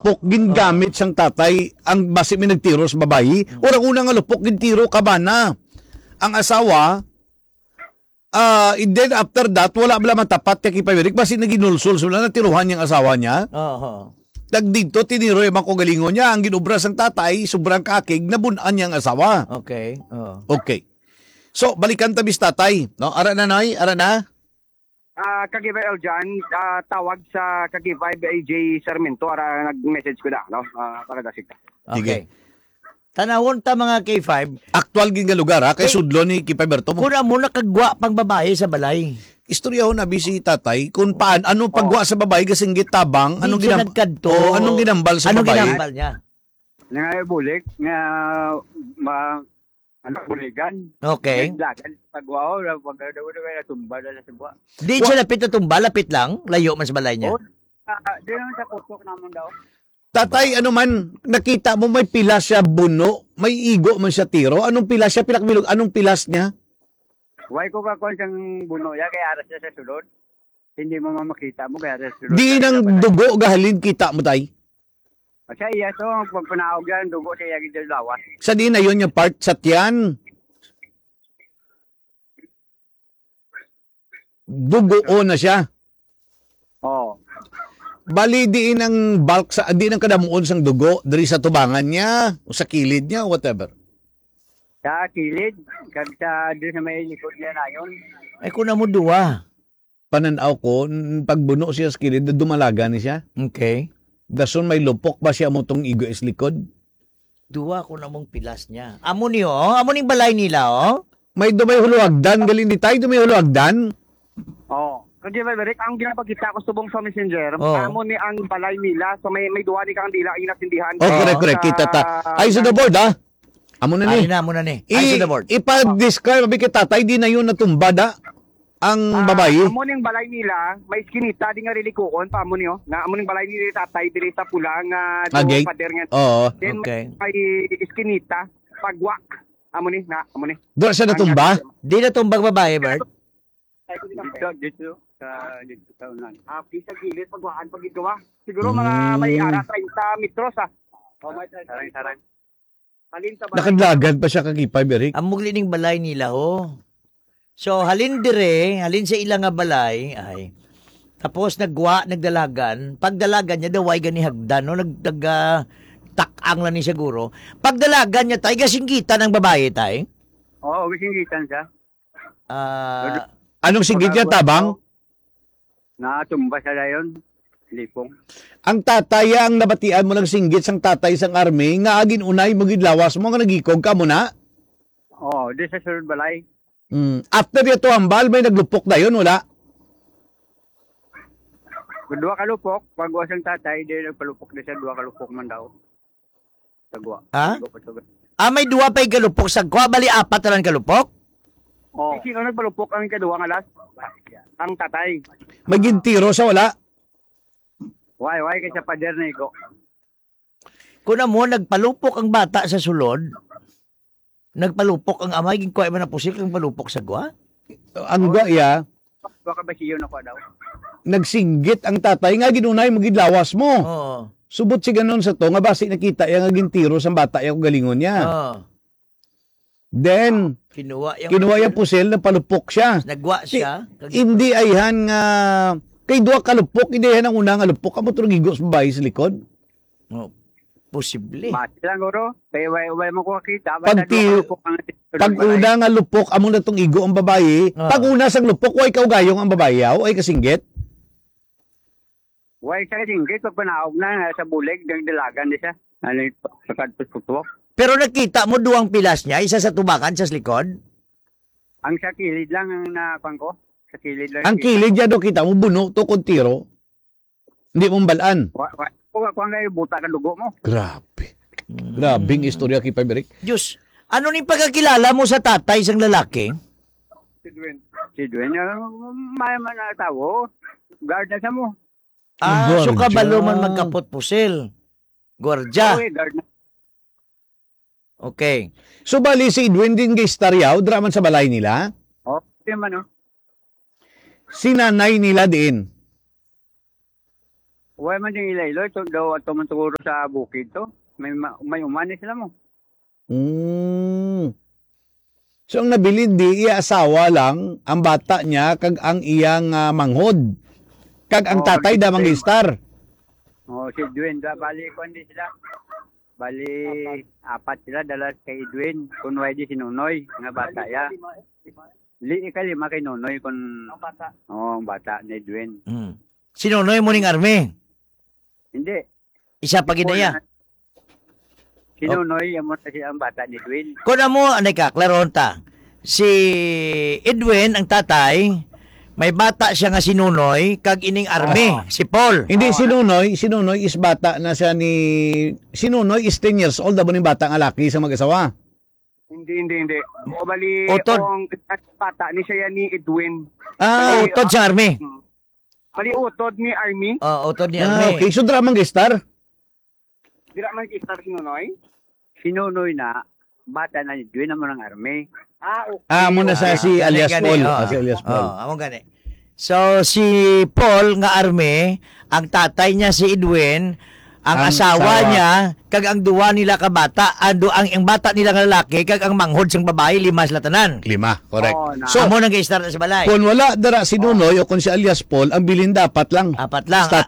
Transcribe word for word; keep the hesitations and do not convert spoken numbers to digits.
lupok gingamit sang tatay ang basi may nagtiro sa babayi. Mm. Urang una nga lupok gintiro ka bana. Ang asawa, ah, and then after that, wala bala matapat kay Kipa Eric, basi naginulsol sila, natiruhan niyang asawa niya. Oo. Tag dito, tiniro yung mga kaugalingon niya. Ang ginobra sang tatay, sobrang kakig, nabun-an niya ang asawa. Okay. Oo. Okay. So, balikan ta bis tatay, no? Ara na, Noy? Ara na? Ah, Kagibay Aljan, ah, tawag sa Kagibay A J Sarmiento, ara nag-message ko na, no? Ah, para dasig ka. Sige. Okay. Tanawon ta, mga K five. Aktual gid nga lugar, ha? Kay Eh, sudlo ni Kipa Berto mo. Kung amo nakagwa pang babae sa balay. Istoryahon na bisi tatay kung paan, ano Oh. pagwa sa babae, gasinggit tabang, Di anong siya ginam-, nagkadto. Oh, anong ginambal sa Anong babae? ginambal niya? Nga bulik, nga ma-, ano, buligan. Okay. Naglagan, pagwa, oh, wala, wala, wala, wala, tumba na lang sa buwa. Di Wa- siya lapit na tumba, lapit lang, layo man sa balay niya. Oh, ah, di naman sa kutok naman daw. Tatay, ano man, nakita mo may pilas siya buno, may igo man siya tiro. Anong pilas siya? Pilak bilog, anong pilas niya? Why ko kakuan sang buno ya, kay aras siya sa sulod. Hindi mo mamakita mo, kay aras sa sulod. Di nang dugo gahalin kita mo, tay? Sa iya, so, ang pagpanaog yan, dugo sa iya, gid lawas. Sa di na yun yung part sa tiyan? Dugo na siya. Oo. Bali, diin ang bulk sa, diin ang kadamuon sang dugo, diri sa tubangan niya, o sa kilid niya, o whatever. Sa kilid, kag sa, doon sa may likod niya na yun. Ay, kung amo duwa. Panan-aw ko, n-, pag buno siya sa kilid, dumalaga ni siya. Okay. Dason may lupok ba siya mo tong igo is likod? Duwa ko namong pilas niya. Amo ni, oh. Amo ning balay nila, oh. May dumay huluagdan, galing di tayo dumay huluagdan. Oh. Kag di ba, Rick, ang ginapakita ko subong sa messenger, Oh. amo ni ang balay nila, so may, may duwa ni kang dila ang inasindihan. Oh, correct, Oo. correct. Kita ta. Sa Ay, sa the board, ha? Amo na ni. Ay, na, amo na ni. Ay, I-, sa the board. ipa-describe, abi kay tatay, di na yun natumba, da? Ang Ah, babayi? Amo ning balay nila, may iskinita di nga rilikuon pa amo niyo. Na amo ning balay ni tatay diri sa pula nga Ah, duo gate? pader nga. Oo. Then Okay. may iskinita, pagwa. Amo ni, na amo ni. Doon siya Ang natumba? nasa- Di na tumbang babae, Bert? Dito, dito, sa, dito sa unahan. Ah, okay, sa gilid, pagwaan, pag ito, ah. Siguro mga may Mm. ara treinta metros, ah. O, may treinta Sarang-sarang. Halin sa balay. Nakadlagan pa siya kag ipay, Eric. Amo gid ning balay nila, ho. So, halin dire, halin sa ila nga balay, ay. Tapos nagwa, nagdalagan. Pagdalagan niya, daw ay gani hagdan, no? Nag-, nag-, ah, tak-ang lang ni siguro. Pagdalagan niya, tay, gasinggitan ang babae, tay? Oo, gasinggitan siya. Ah, Anong singgit niya, tabang? Natumba sa dayon, lipong. Ang tatay ang nabatian mo lang singgit sang tatay sang army nga agin unay mo gid lawas mo nga nagikog ka mo na? Oo, di sa sulod balay. Mm. After niya to hambal, may naglupok dayon, wala? Duha ka lupok, pag-uwas ang tatay, di nagpalupok di sa duha ka lupok man daw. Tagwa. Ha? Tagwa pa, tagwa. Ah, may duwa pa igalupok sa kwa, bali apat na lang kalupok? Oh. Eh, sino nagpalupok ang ikaduwa nga last? Ang tatay. May gintiro sa wala? Why, why kay sa pader na igo? Kung amo, nagpalupok ang bata sa sulod, nagpalupok ang amay, ginkuha man ang pusil, kang palupok sa gwa? Ang gwa, iya. Baka ba siyo na kwa daw? Nagsinggit ang tatay nga ginunay mo gid lawas mo. Oo. Subot si ganon sa to nga basi nakita iya nga gintiro sang bata iya kung galingon niya. Oo. Then, Kinuha yung kinuha yung pusil, napalupok siya. Nagwa Ti-, siya. Hindi ayhan nga, kay duha ka lupok, hindi ayhan ang una nga lupok, amo to nagigos babae sa likod. Oh, posible. Bati lang, guro. Kay way, way mo ko kita. Basta Pag ti-, duha ka lupok ang pag una nga lupok, amo na tong igo ang babayi. Ah. Pag una sang lupok, way kaugayong ang babayi, yaw, ay kasinggit. Way sa kasinggit, pag panaog na, nga sa bulig, nagdalagan di siya. Ano yung pagkadtos ko to? Pero nakita mo duwang pilas niya, isa sa tubangan, isa sa likod? Ang sa kilid lang ang nakuan ko. Sa kilid lang. Ang kilid niya do kita mo, buno to kung tiro. Hindi mo balaan. Wa, wa, wa, wa, nga buta ka dugo mo. Grabe. Mm. Grabing istorya, Kipay Berik. Diyos, ano ni pagkakilala mo sa tatay sang lalaki? Si Dwayne. Si Dwayne, ah, may man na tao. Guard na sa mo. Ah, so Guardia. Kabalo man magkapot pusil. Guardia. Oo, eh, guard na. Okay. So, bali si Edwin din kay istoryaw, dira man sa balay nila? Oh, di man, oh. Si nanay nila diin? Wala man ding ila-ilo, ito daw ato man siguro sa bukid to. May ma-, may umani sila mo. Mm. So, ang nabilin di iya asawa lang, ang bata niya, kag ang iyang, ah, manghod. Kag ang Oo, tatay da, Edwin. Mangistar. Oo, si Edwin, da, bali, kuwan di sila. Bali, apat sila, dala kay Edwin. Kung wala di si Nonoy, nga bata ya. Li, ikalima kay Nonoy, kung Ang bata. Oo, ang bata ni Edwin. Mm. Si Nonoy mo ning army? Hindi. Isa pa gid na iya. Si Oh. Nonoy, amo na siya ang bata ni Edwin. Kung amo, anay ka, klarohon ta. Si Edwin, ang tatay, may bata siya nga si Nonoy, kag ining army, Ah. si Paul. Hindi, Oh, si ano? Nonoy, si Nonoy is bata na siya ni, si Nonoy is ten years old, amo ning bata nga laki sa mag-asawa. Hindi, hindi, hindi. O, bali, Utod. Ang bata ni siya ni Edwin. Ah. Bali, Utod sa army. Hmm. Bali, utod ni army. Oh, utod ni Ah, army. Okay. So, dira man gistar? Dira man gistar si Nonoy? Si Nonoy na, bata na ni Edwin, amo nang army. Ah, okay. Ah, amo na sa Ah, si gani, alias gani, Paul. Oh, Ah, si alias Paul. Oh, amo gani. So, si Paul nga army, ang tatay niya si Edwin, ang Ang asawa asawa. niya, kag ang duwa nila ka bata, ang du-, ang, ang bata nila nga lalaki, kag ang manghod sang babayi, lima sila tanan. Lima, correct. Oo, na. So, Amo nang gi-start sa balay. Kung wala dara si Oh. Nonoy o kung si alias Paul, ang bilin dapat lang. Apat lang. Sa